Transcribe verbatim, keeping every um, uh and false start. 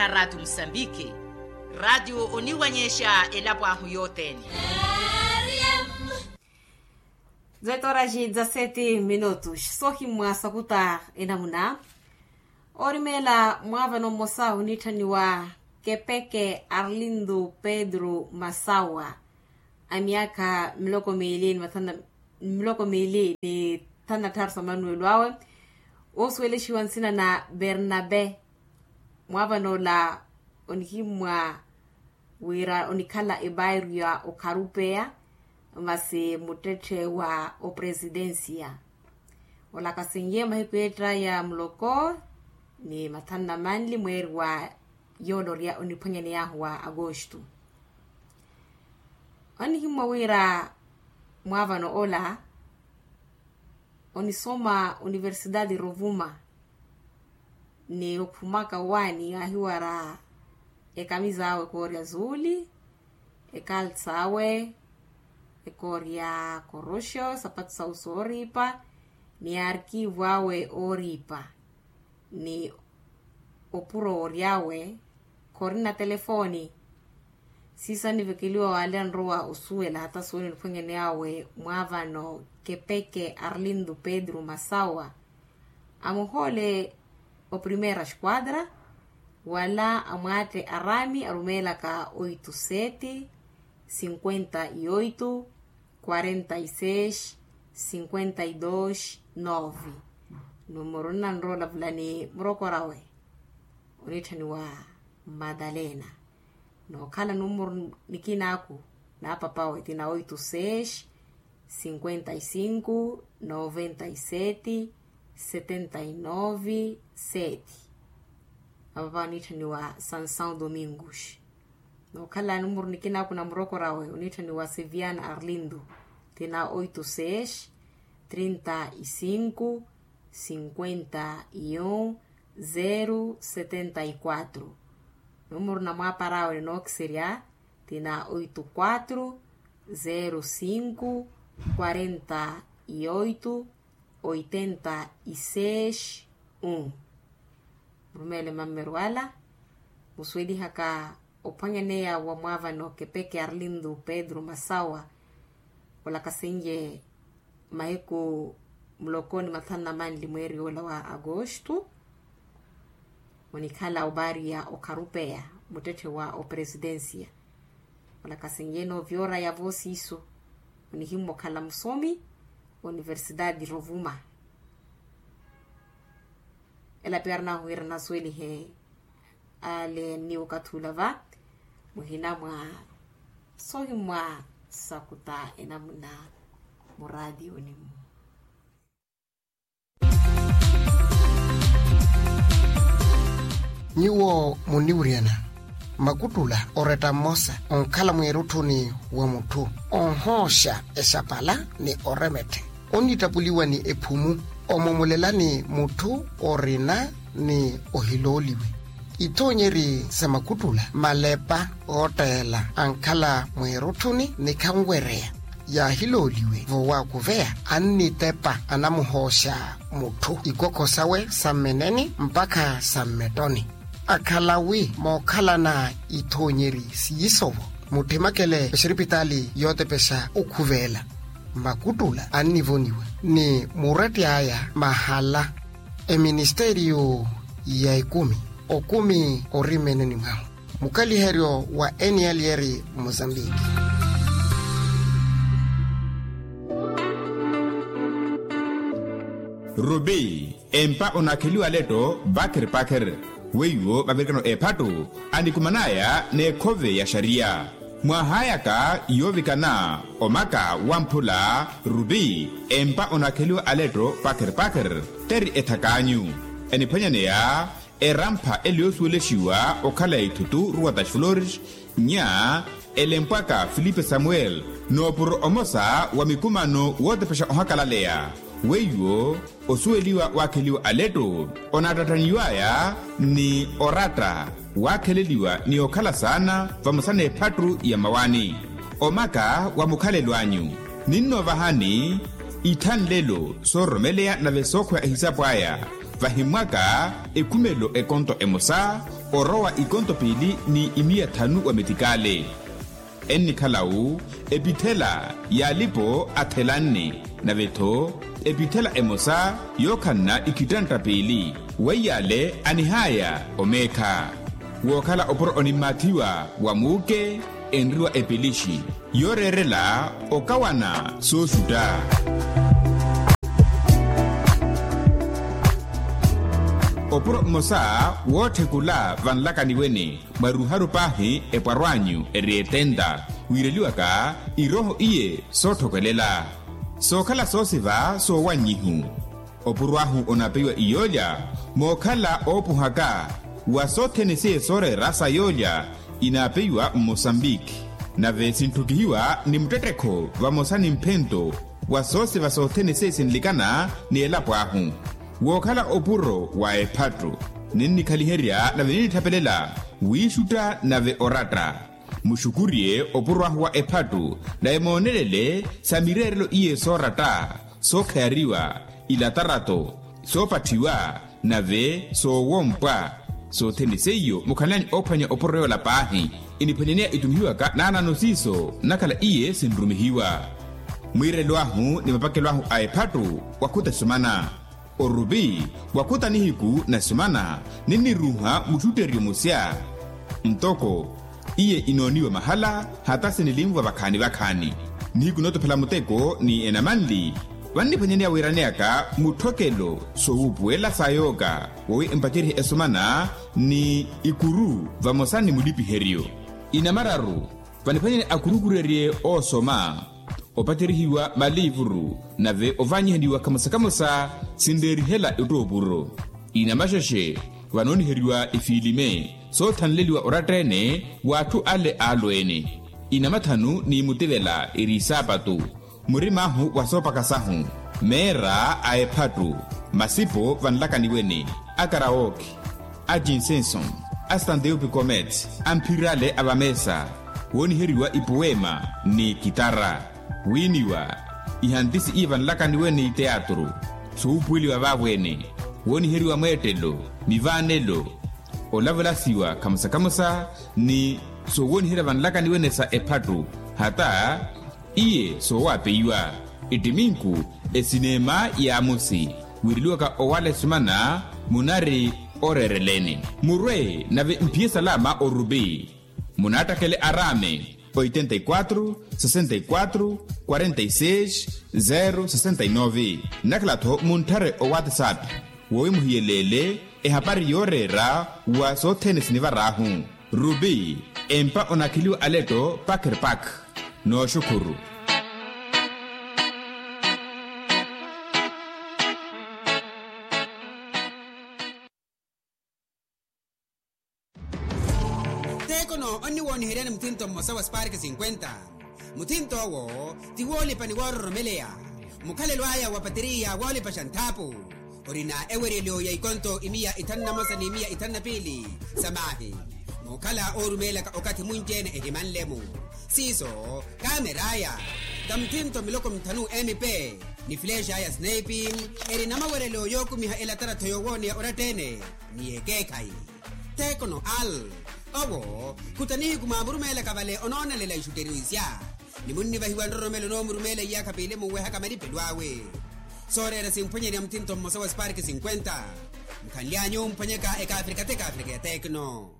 Ratio musambiki. Ratio oniwanyexa elapo ahu yothene. Zetoraxi dza seti minutos sohimmwa sakuta enamuna. Orimela mwavano mmosa onitthaniwa kepeke arlindo pedro masawa, a miyakha miloko miili ni mathana miloko miili ni thanu na tthaaru sa manuwelo awe. Oosuwelexiwa nsina na bernabe. Mwavano ola onihimmwa wira onikhala ebairyo ya okharupeya masi muttetthe wa opresidensiya. Olakasinye mahiku etta ya muloko ni mathanu na manli mweeri wa yoolorya oniphwanyaney'ahu wa agosto. Onihimmwa wira mwaavano ola onisoma oniversidade rovuma ni okhumaka owaani aahiwara ekamisa awe ekoorya zuuli, ekalsa awe ekoorya koroxo sapatu sa uso ooriipa, ni arkivu awe ooriipa ni opuro woorya awe khorina telefooni. Siiso anivekeliwa waali anrowa osuwela hata suwela oniphwanyani awe mwaavano kepeke arlindo pedro masawa. Amuhoole oprimeera esquadra wala amwaatte araami arumeelaka oito sete cinquenta e oito quarenta e seis cinquenta e dois nove. Numero nnanrola vulani murokorawe onitthaniwa madalena. Nookhala numero nikinaaku naapapawe tina oito seis cinquenta e cinco noventa e sete setenta e nove sete. Apapawe onitthaniwa sansão domingos. Nookhala numero nikinaaku na murokorawe onitthaniwa seviana arlindo tina oito seis trinta e cinco cinquenta e um zero setenta e quatro. Numero na mwaaparawe ni nookiserya tina oito quatro zero cinco quarenta e oito oitenta e seis um. Murumeele mammeru ala musuwelihaka ophwanyaneya wa mwaavano kepeke arlindo pedro masawa. Olakasenye mahiku muloko ni mathanu na manli mweeri ola wa agosto. Onikhala obaariya okharupeya muttetthe wa opresidensiya. Olakasenye noovyoora yavo siiso onihimmwa okhala musomi oniversidade rovuma. Ela piya arinahu wira nasuwelihe ale ni okathi ula va muhina mwa sohimmwa sakuta enamuna muraatiyoni-mu. Nyuwo muniwuryana makuttula oretta mmosa onkhala mweerutthuni wa mutthu onhooxa exapala ni oremetthe onnittapuliwa ni ephumu omomolelani mutthu orina ni ohilooliwe. Ithoonyeri sa makuttula malepa ootteela ankhala mweerutthuni ni khanwereya yaahilooliwe vowaakuveya annitepa anamuhooxa mutthu ikokho sawe sa mmeneni mpakha sa mmettoni. Akhala wi mookhalana ithoonyeri siiso-vo muttimakele exiripitaali yootepexa okhuveela makuttula annivoniwa ni muretti aya mahala eministeriyo ya ekumi okumi ori mmeneni mwahu mukaliheryo wa eniyalyeri mozambiki. Rubi empa onaakheliwa aletto pakher pakher weiwo mavirikano eephattu anikuman'aya n'ekhove ya xariya. Mwahaayaka yoovikana omaka wamphula rubi empa onaakheliwa aletto pakher pakher teri ethak'anyu eniphwanyaneya erampha ele yoosuwelexiwa okhala ya ithutu ruwatas flores nya elempwaka filipe samuel noopuro omosa wa mikumano wootepexa ohakalaleya weiwo osuweliwa waakheliwa aletto onaattattaniw'aya ni oratta waakheleliwa ni okhala saana vamosa n'ephattu ya mmawaani omaka wa mukhalelo anyu ninnoovahani ithanlelo soororomeleya nave sookhweya ehisapu aya Vahimwaka ekhumelo ekonto emosa orowa ikonto piili ni imiya thanu wa metikale. Ennikhala-wu epithela y'alipo athelanne, nave-tho epithela emosa yookhanna ikhitantta piili. Weiy'ale anihaya omeekha. Wookhala opuro onimmaathiwa wa muuke enriwa epelixi yooreerela okawana sooxutta. Opuro mmosa wootthekula vanlakani wene mwaruharu paahi epwarw'anyu eri etenta wiireliwaka irooho iye sootthokelela sookhala soosiva soowannyihu. Opuro ahu onapeiwa iyoolya mookhala oopuhaka wa sothene seiye sooreera sa yoolya inapeiwa mmosambiki. Nave sintthukihiwa ni muttettekho vamosa ni mphento wa soosiva sothene seiye sinlikana ni elapo ahu. Wookhala opuro wa ephattu ninnikhaliherya nave ninnithapelela wiixutta nave oratta. Muxukuriye opuro ahu wa ephattu nave moonelele sa mireerelo iye sooratta sookhayariwa ilatarato soopatthiwa nave soowompwa. Sothene seiyo mukhanlani oophwanya opuro yoola paahi iniphwanyaneya itumihiwaka naanano siiso nnakhala iye sinrumihiwa. Mwiirelo ahu ni mapakelo ahu a ephattu wakhuta esumana. Orupi wakhuta nihiku na esumana ninniruuha muxutteryo musya ntoko iye inooniwa mahala hata sinilinvwa vakhaani vakhaani. Nihiku nootophela muteko ni enamanli vanniphwanyaneya wiiraneyaka mutthokelo soowuupuwela sa yooka wowi empacerye esumana ni ikuru vamosa ni mulipiheryo. Inamararu vaniphwanyani akurukurerye oosoma opaterihiwa maliivuru nave ovaanyihaniwa khamosa khamosa sinreerihela ettoopuro. Inamaxexe vanooniheriwa ifiilime soothanleliwa oratta-ene w'atthu ale aalweene. Inamathanu ni mutivela eri isaapatu murim'ahu wa soopaka sahu meera a ephattu masipo vanlakani wene a karawoki a jinsenson a stanteupi comet a mphirale a vameesa wooniheriwa ipuwema ni kitara wiiniwa ihantisi iye vanlakani wene ni teatru soowuupuweliwa vaavo-ene wooniheriwa mweettelo mivaanelo olavalasiwa khamosa khamosa ni soowooniherya vanlakani wene sa ephattu hata iye soowapeiwa ettiminku esineema y'amosi wiireliwaka owala esumana munari oreereleni murwe nave mphiye salama orupi munaattakele araame oitenta e quatro sessenta e quatro quarenta e seis zero sessenta e nove nnakhala-tho muntthare owatsapp wowi muhiyeleele ehapari yooreera wa sothene sinivar'ahu. Rupi empa onakheliwa aletto pakerpak. Nooxukhuru. Tekono onniwooniheryani muthinto mmosa wa spark cinquenta. Muthinto owo ti woolipa ni woororomeleya. Mukhalelo aya wa pateriya woolipaxa nthaapu orina eweryelo ya ikonto imiya ithanu na mosa ni imiya ithanu na piili sa maahi. Muukhala oorumeelaka okathi munci-ene ehimanle-mu siiso kaamer'aya. Tamuthinto miloko mithanu mp ni fileexa ya snaipi erina maweryelo yookumiha elatarattho yoowooneya oratta-ene ni ekeekhayi. Tekono al owo khuta nihiku mwaamurumeelaka vale onoonelela ixutteriyo isya ni munnivahiwa nroromelo onoomurumeela iyaakha piili munwehaka malipelo awe. Sooreera simphwanyani ya muthinto mmosa wa spark cinquenta. Mukhanly'anyu mphwanyaka ekaafrika t'ekaafrika ya tekno.